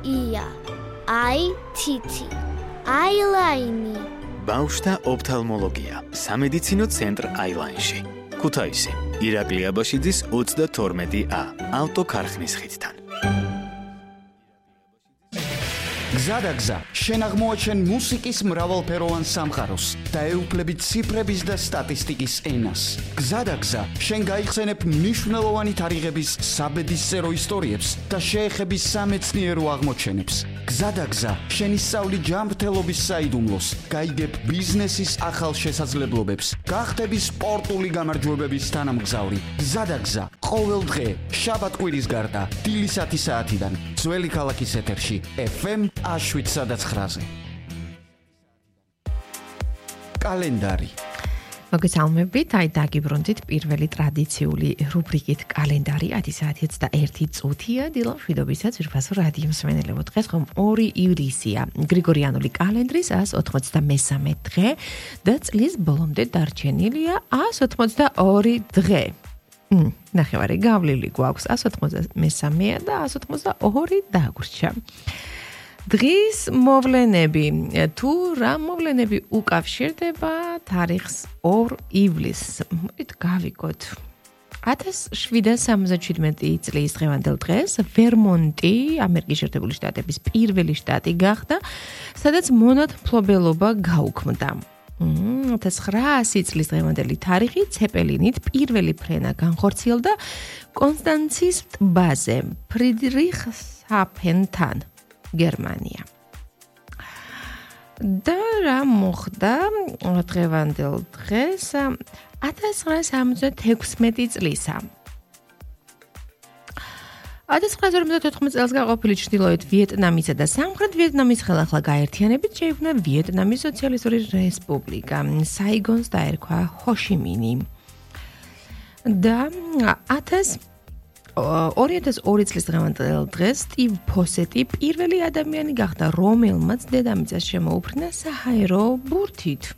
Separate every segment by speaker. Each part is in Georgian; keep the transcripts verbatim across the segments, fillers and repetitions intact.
Speaker 1: ია, აი თითი, აილაინი.
Speaker 2: ბავშვთა ოფთალმოლოგია, სამედიცინო ცენტრ აილაინში. ქუთაისი, ირაკლი აბაშიძის ოცდათორმეტი ა, ავტოქარხნის ხიდთან.
Speaker 3: გზადაგზა, შენ აღმოაჩენ მუსიკის მრავალფეროვან სამყაროს და ეუფლებით ციფრების და სტატისტიკის ენას. გზადაგზა, შენ გაიხსენებ მნიშვნელოვანი თარიღების საბედისწერო ისტორიებს და შეეხები სამეცნიერო აღმოჩენებს. გზადაგზა, შენ ისწავლი ჯანმრთელობის საიდუმლოს, გაიგებ ბიზნესის ახალ შესაძლებლობებს, გახდები სპორტული გამარჯვებების თანამგზავრი. გზადაგზა, ყოველ დღე, შაბათ-კვირის გარდა, დილის ათი საათიდან, ძველი ქალაქის ეთერში, ეფ ემ შვიდ ცხრაზე. კალენდარი.
Speaker 4: მოგესალმებით, აი დაგიბრუნდით პირველი ტრადიციული რუბრიკით კალენდარი ათი საათი ოცდაერთი წუთია დილა მშვიდობისაც ვირფასო რადიო მსმენელებო. დღეს ხომ ორი ივლისია, გრიგორიანული კალენდრის ას ოცდამესამე დღე და წლის ბოლომდე დარჩენილია ას ოცდაორი დღე. ნახევარი გავლილი გვაქვს ას ოცდამესამე და ას ოცდაორი დაგვრჩა. დღის მოვლენები, თუ რა მოვლენები უკავშირდება თარიღს ორ ივლისს, მოდით გავიგოთ. ათას შვიდსათ სამოცდაშვიდმეტი წლის დღევანდელ დღეს ვერმონტი, ამერიკის შეერთებული შტატების პირველი შტატი გახდა, სადაც მონათმფლობელობა გაუქმდა. ათას ცხრაასი წლის დღევანდელი თარიღი ცეპელინით პირველი ფრენა განხორციელდა კონსტანცის ტბაზე, ფრიდრიხსჰაფენთან. გერმანია. და რა მოხდა დღევანდელ დღეს ათას ცხრაასი სამოცდათექვსმეტი წლისა. ათას ცხრაასი ორმოცდათოთხმეტ წელს გაყოფილი ჩრდილოეთ ვიეტნამისა და სამხრეთ ვიეტნამის ხელახლა გაერთიანებით შეიქმნა ვიეტნამის სოციალისტური რესპუბლიკა. საიგონს დაერქვა ჰოშიმინი. და ათას ორი ათას ორი წლის დღევანდელ დღეს სტივ ფოსეტი პირველი ადამიანი გახდა, რომელმაც დედამიწას შემოუფრინა საჰაერო ბურთით.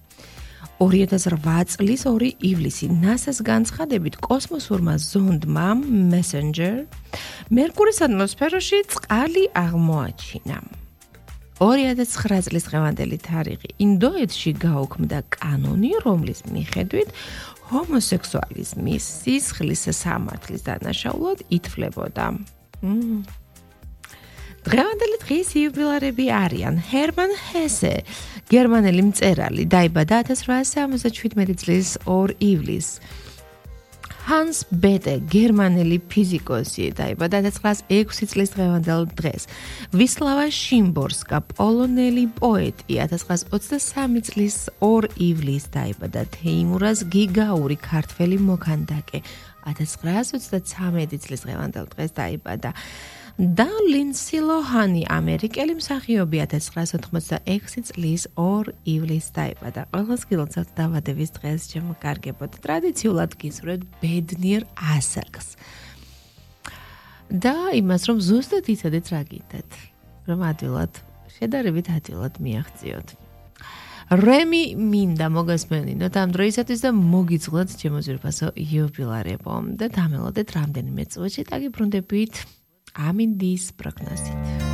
Speaker 4: ორი ათას რვა წლის ორი ივლისი ნასას განცხადებით კოსმოსურმა ზონდმა Messenger მერკურის ატმოსფეროში წყალი აღმოაჩინა. ორი ათას ცხრა წლის დღევანდელი თარიღი ინდოეთში გაუქმდა კანონი, რომლის მიხედვით ჰომოსექსუალიზმის სისხლის სამართლის დანაშაულად ითვლებოდა. დღევანდელი დღის იუბილარები არიან ჰერმან ჰესე, გერმანელი მწერალი, დაიბადა ათას რვაასი სამოცდაშვიდმეტი წლის ორ ივლისს. ჰანს ბეტე, გერმანელი ფიზიკოსი, დაიბადა ათას ცხრაასი ექვსი წლის დღევანდელ დღეს. ვისლავა შიმბორსკა, პოლონელი პოეტი, ათას ცხრაასი ოცდასამი წლის ორ ივლისს დაიბადა. თეიმურაზ გიგაური, ქართველი მოქანდაკე, ათას ცხრაასი ოცდაცამეტი წლის დღევანდელ დღეს დაიბადა. და ლინსი ლოჰანი, ამერიკელი მსახიობი, ათას ცხრაასი ოთხმოცდაექვსი წლის ორ ივლისს დაიბადა. ყველას გილოცავთ დაბადების დღეს შემოგარგებოთ. ტრადიციულად გისურვებთ ბედნიერ ასაკს. და იმას, რომ ზუსტად იცოდეთ რა გინდათ, რომ ადვილად, შედარებით ადვილად მიაღწიოთ. რემი მინდა მოგესმენინოთ ამ დროისათვის და მოგიძღლოთ ჩემო ძვირფასო იუბილარებო და დამელოდეთ რამდენიმე წუთში დაგიბრუნდებით ამინდის პროგნოზით.